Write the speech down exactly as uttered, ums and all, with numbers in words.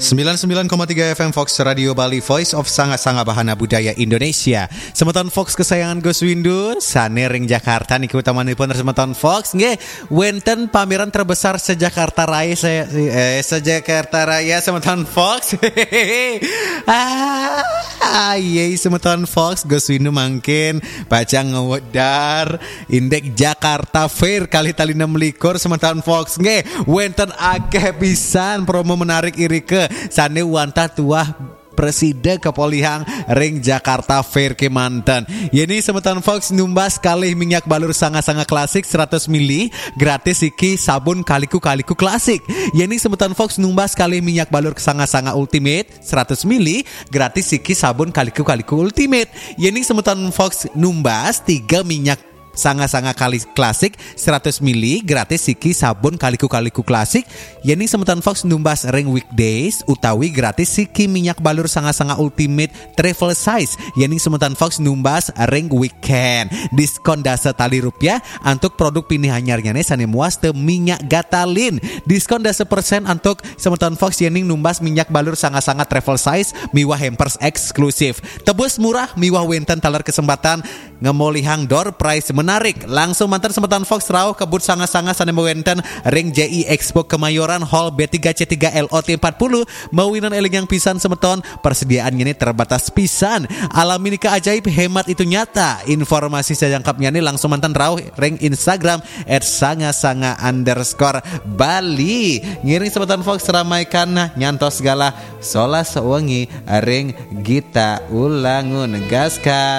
Sembilan sembilan koma tiga F M Fox Radio Bali, Voice of Sanga-Sanga Bahana Budaya Indonesia. Semeton Fox kesayangan Gus Windu, sane ring Jakarta niki utamanipun semeton Fox nggih, wenten pameran terbesar se-Jakarta Raya, se, eh, se-Jakarta Raya semeton Fox. Ah, iya semeton Fox, Gus Windu mangkin pacang ngwedar Indek Jakarta Fair kalih tali enam likur semeton Fox nggih, wenten akeh pisan promo menarik irika sane wantah tuah presida kepolihang ring Jakarta Fair kemanten. Yening semeton Fox numbas kalih minyak balur Sanga-Sanga klasik seratus mili, gratis siki sabun Kaliku-Kaliku klasik. Yening semeton Fox numbas kalih minyak balur Sanga-Sanga Ultimate seratus mili, gratis siki sabun Kaliku-Kaliku Ultimate. Yening semeton Fox numbas tiga minyak Sanga-Sanga kali klasik seratus mili, gratis siki sabun Kaliku-Kaliku klasik. Yening semeton Fox numbas ring weekdays utawi gratis siki minyak balur Sanga-Sanga Ultimate travel size. Yening semeton Fox numbas ring weekend, diskon dasa tali rupiah antuk produk pinih anyarnyane sane muas te minyak gatalin. Diskon dasa persen antuk semeton Fox yening numbas minyak balur Sanga-Sanga travel size miwah hampers eksklusif. Tebus murah miwah wenten taler kesempatan ngemolihang door prize menarik. Langsung manten semeton Fox rauh ke booth Sanga-Sanga sane wenten ring J I Expo Kemayoran, Hall B tiga C tiga L O T empat puluh. Mawinan elingang pisan semeton, persediaan ngene terbatas pisan. Alami nika ajaib, hemat itu nyata. Informasi sajangkepnyane langsung manten rauh ring Instagram at sanga-sanga underscore Bali. Ngiring semeton Fox ramaikan nyantos galah solas wengi ring Gita Ulangun. Gaskan.